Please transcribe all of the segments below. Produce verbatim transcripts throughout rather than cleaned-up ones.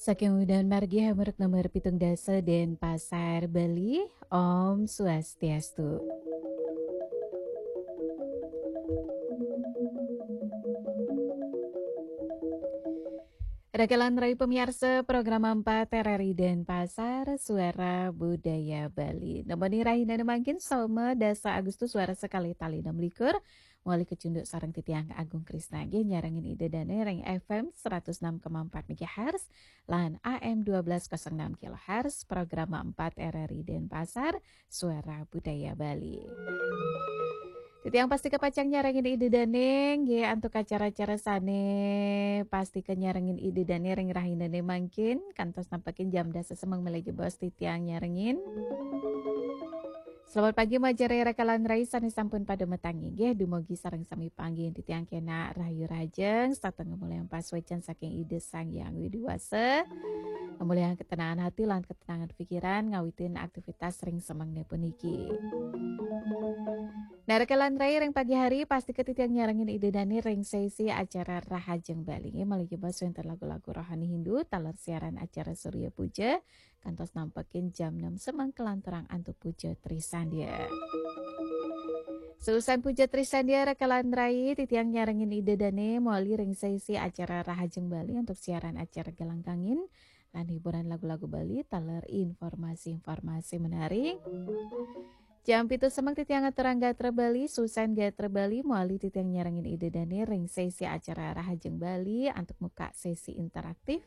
Saking Udan Margi Hamuruk nomor pitung dasa Denpasar, Bali. Om Swastiastu. Rakalan rai pamiarsa program empat R R I Denpasar, Suara Budaya Bali. Nemoni rahina mangkin Soma dasa Agustus warsa kalih tali enam likur. Mawali kacunduk sareng titiang Agung Krisna nggih nyarengin Ida Dane ring F M seratus enam koma empat megahertz lan A M dua belas kosong enam kilohertz, program empat R R I Denpasar, Suara Budaya Bali. Titiang pasti kapacang nyarengin Ida Dane nggih antuk acara-acara sane pasti kanyarengin Ida Dane ring rahinane mangkin kantos nampekin jam dasa semeng malih jebos titiang nyarengin. Selamat pagi, majeng rakalan rai sane sampun pada matangi nggih, dumugi sareng sami panggih titiang kenak rahayu rahajeng, setata ngamulihang pasuecan saking Ida Sang Hyang Widi Wasa. Ngamulihang ketenangan hati lan ketenangan pikiran ngawitin aktivitas ring semengne puniki. Nah, rakalan rai ring pagi hari pasti titiang nyarengin Ida Dane ring sesi acara Rahajeng Bali nggih, malih jebos wenten lagu-lagu rohani Hindu, taler siaran acara Surya Puja, kantos nampekin jam enam semeng kelanturang antuk puja Trisandya. Seusan puja Trisandya rakalan rai titiang nyarengin Ida Dane mawali ring sesi acara Rahajeng Bali antuk siaran acara Gelangkangin lan hiburan lagu-lagu Bali taler informasi-informasi menarik. Jam pitu semeng titiang aturang gatra Bali, seusan gatra Bali mawali titiang nyarengin Ida Dane ring sesi acara Rahajeng Bali antuk muka sesi interaktif.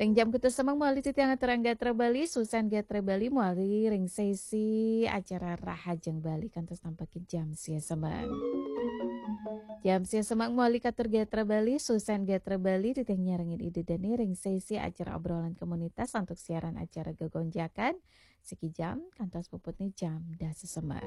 Ring jam pitu semeng mawali titiang aturang gatra Bali, seusan gatra Bali mawali ring sesi acara Rahajeng Bali kantos nampekin jam sia semeng. Jam sia semeng mawali katur gatra Bali, seusan gatra Bali titiang nyarengin Ida Dane ring sesi acara obrolan komunitas antuk siaran acara Gegonjakan siki jam kantos puputne jam dasa semeng.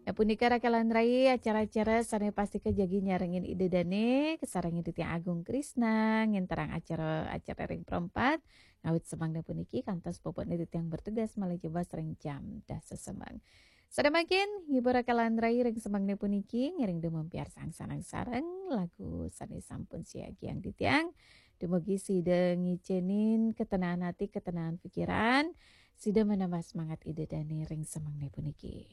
Nah, punika rakalan rai acara-acara sane pasti kajagi nyarengin Ida Dane, kasarengin titiang Agung Krisna, ngenterang acara-acara ring perempat, ngawit semengne puniki kantos puputne titiang bertugas malih jebos ring jam dasa semeng. Sada mangkin, ngibur rakalan rai ring semengne puniki, ngiring dumun piarsang sareng-sareng, lagu sane sampun siagiang titiang. Dumugi sida ngicenin ketenangan hati, ketenangan pikiran, sida menambah semangat Ida Dane ring semengne puniki.